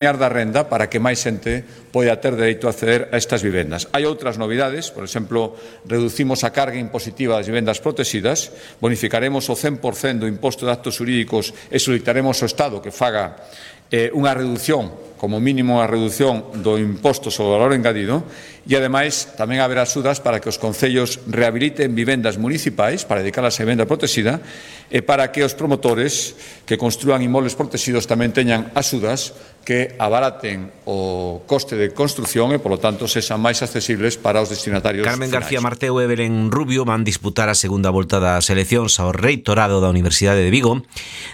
da renda para que máis xente poida ter dereito a acceder a estas vivendas. Hai outras novidades, por exemplo, reducimos a carga impositiva das vivendas protegidas, bonificaremos o 100% do imposto de actos xurídicos e solicitaremos ao Estado que faga unha reducción, como mínimo a reducción do imposto sobre o valor engadido, e, ademais, tamén haberá axudas para que os concellos rehabiliten vivendas municipais para dedicarlas a vivenda protegida e para que os promotores que construan inmobles protegidos tamén teñan axudas que abaraten o coste de construción e, polo tanto, sexan máis accesibles para os destinatarios Carmen finais. García Marteu e Belén Rubio van disputar a segunda volta das eleccións ao reitorado da Universidade de Vigo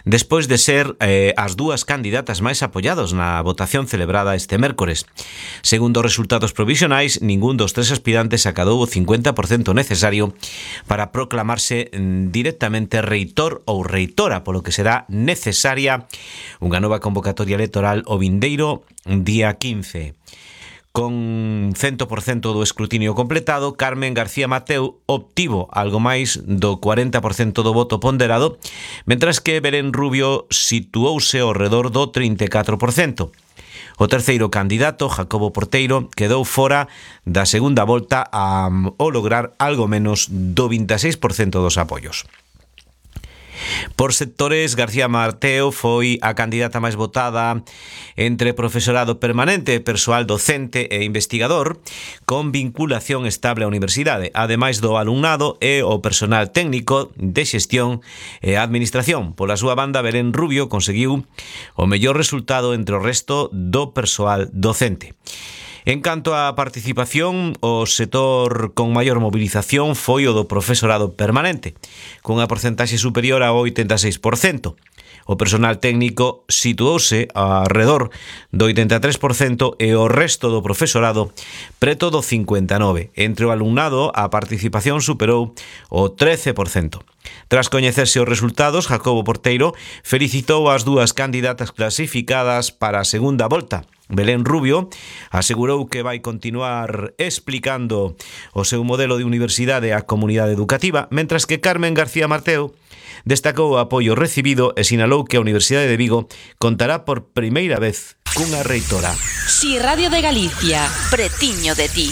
despois de ser as dúas candidatas máis apoiados na votación celebrada este mércores. Segundo os resultados provisionais, ningún dos tres aspirantes acadou o 50% necesario para proclamarse directamente reitor ou reitora, polo que será necesaria unha nova convocatoria electoral o vindeiro día 15. Con 100% do escrutinio completado, Carmen García Marteu obtivo algo máis do 40% do voto ponderado, mentras que Belén Rubio situouse ao redor do 34%. O terceiro candidato, Jacobo Porteiro, quedou fora da segunda volta ao lograr algo menos do 26% dos apoios. Por sectores, García Marteu foi a candidata máis votada entre profesorado permanente, persoal docente e investigador con vinculación estable á universidade, ademais do alumnado e o personal técnico de xestión e administración. Pola súa banda, Belén Rubio conseguiu o mellor resultado entre o resto do persoal docente. En canto á participación, o sector con maior movilización foi o do profesorado permanente, cunha porcentaxe superior ao 86%. O personal técnico situouse arredor do 83% e o resto do profesorado preto do 59%. Entre o alumnado, a participación superou o 13%. Tras coñecerse os resultados, Jacobo Porteiro felicitou as dúas candidatas clasificadas para a segunda volta. Belén Rubio asegurou que vai continuar explicando o seu modelo de universidade á comunidade educativa, mentras que Carmen García Marteu destacou o apoio recibido e sinalou que a Universidade de Vigo contará por primeira vez cunha reitora. Si Radio de Galicia, pretiño de ti.